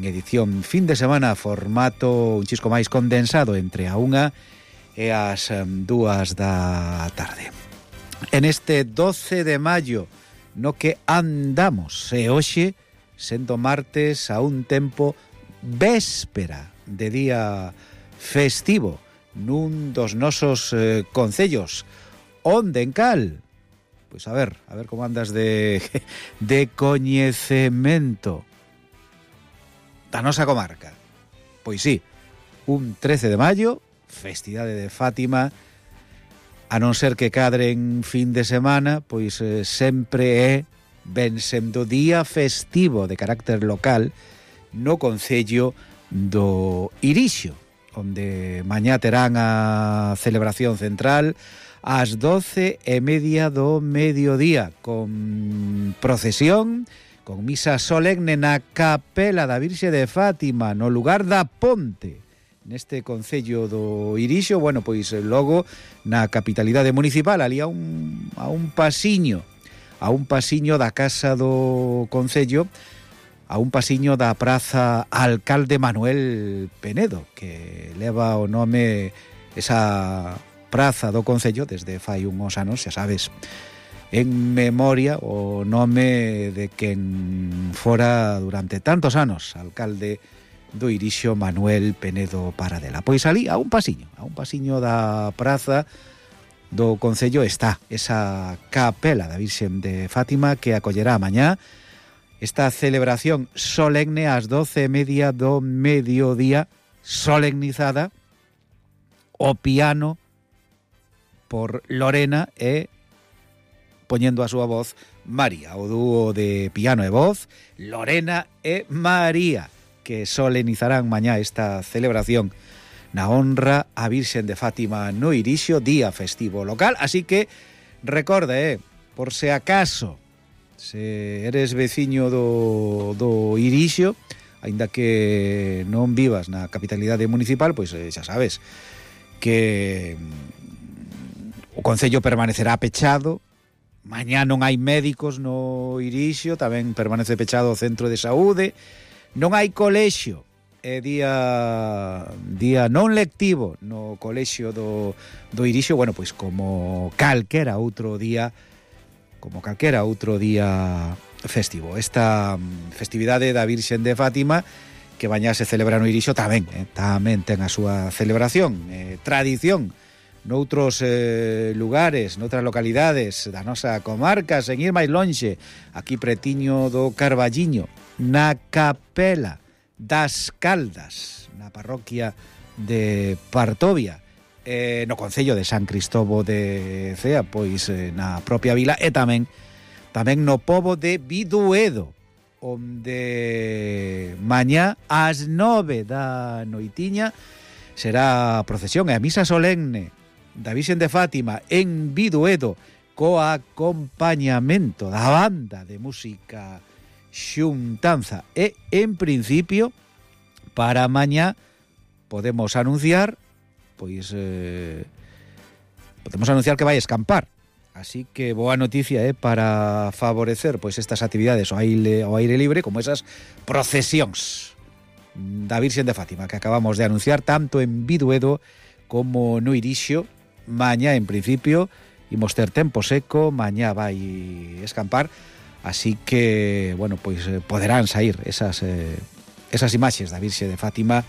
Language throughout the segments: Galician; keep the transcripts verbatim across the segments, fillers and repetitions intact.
edición fin de semana, formato un chisco máis condensado entre a unha e as dúas da tarde. En este doce de maio no que andamos, e hoxe sendo martes a un tempo véspera de día festivo nun dos nosos eh, concellos. Onde en cal? Pois a ver, a ver como andas de, de coñecemento da nosa comarca. Pois sí, un trece de maio, festividade de Fátima, a non ser que cadren fin de semana, pois eh, sempre é ben sendo día festivo de carácter local no concello do Irixo, onde mañá terán a celebración central ás doce e media do mediodía, con procesión, con misa solemne na capela da Virxe de Fátima, no lugar da Ponte, neste concello do Irixo. Bueno, pois logo na capitalidade municipal, ali a un, a un pasiño, a un pasiño da casa do concello, a un pasiño da praza Alcalde Manuel Penedo, que leva o nome esa praza do concello desde fai uns anos, xa sabes, en memoria o nome de quen fora durante tantos anos alcalde do Irixo, Manuel Penedo Paradela. Pois ali, a un pasiño, a un pasiño da praza do concello está esa capela da Virxen de Fátima que acollerá mañá esta celebración solemne ás doce e media do mediodía, solemnizada o piano por Lorena e poñendo a súa voz María, o dúo de piano e voz Lorena e María, que solemnizarán mañá esta celebración na honra a Virxen de Fátima no Irixo, día festivo local. Así que recorda, eh, por se acaso se eres veciño do, do Irixo, aínda que non vivas na capitalidade municipal, pois eh, xa sabes que o concello permanecerá pechado. Mañá non hai médicos no Irixo, tamén permanece pechado o centro de saúde. Non hai colexio, é día día non lectivo no colexio do, do Irixo. Bueno, pois como calquera outro día, como calquera outro día festivo. Esta festividade da Virxen de Fátima, que mañá se celebra no Irixo, tamén, eh, tamén ten a súa celebración, eh, tradición, noutros eh, lugares, noutras localidades da nosa comarca, sen ir máis lonxe, aquí pretiño do Carballiño, na capela das Caldas, na parroquia de Partovia, eh, no concello de San Cristobo de Cea, pois eh, na propia vila, e tamén tamén no pobo de Biduedo, onde mañá ás nove da noitiña será a procesión e a misa solemne da Virxen de Fátima en Biduedo, co acompañamento da banda de música Xuntanza. E, en principio, para mañá podemos anunciar, pois, eh, podemos anunciar que vai escampar. Así que boa noticia, eh, para favorecer pois estas actividades ao aire, ao aire libre, como esas procesións da Virxen de Fátima que acabamos de anunciar, tanto en Biduedo como no Irixo. Mañá, en principio, imos ter tempo seco, mañá vai escampar, así que, bueno, pois eh, poderán sair esas, eh, esas imaxes da Virxe de Fátima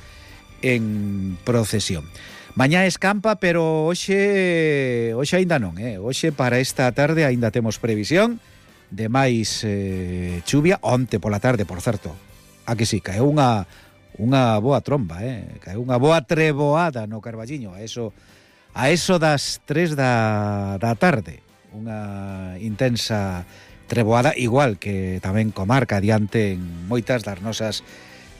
en procesión. Mañá escampa, pero hoxe, hoxe aínda non, eh? Hoxe para esta tarde aínda temos previsión de máis eh, chuvia. Onte pola tarde, por certo, a que sí, caeu unha, unha boa tromba, eh? Caeu unha boa treboada no Carballiño, a eso... A eso das tres da, da tarde, unha intensa treboada, igual que tamén comarca adiante en moitas das nosas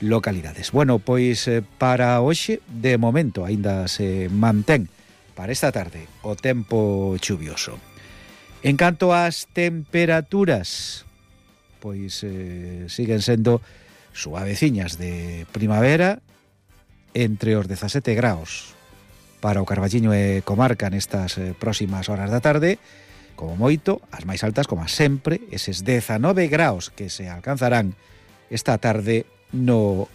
localidades. Bueno, pois para hoxe, de momento, aínda se mantén para esta tarde o tempo chuvioso. En canto ás temperaturas, pois eh, siguen sendo suaveciñas de primavera, entre os dezasete graos para o Carballiño e comarca nestas eh, próximas horas da tarde, como moito, as máis altas, como sempre, eses dezanove graos que se alcanzarán esta tarde no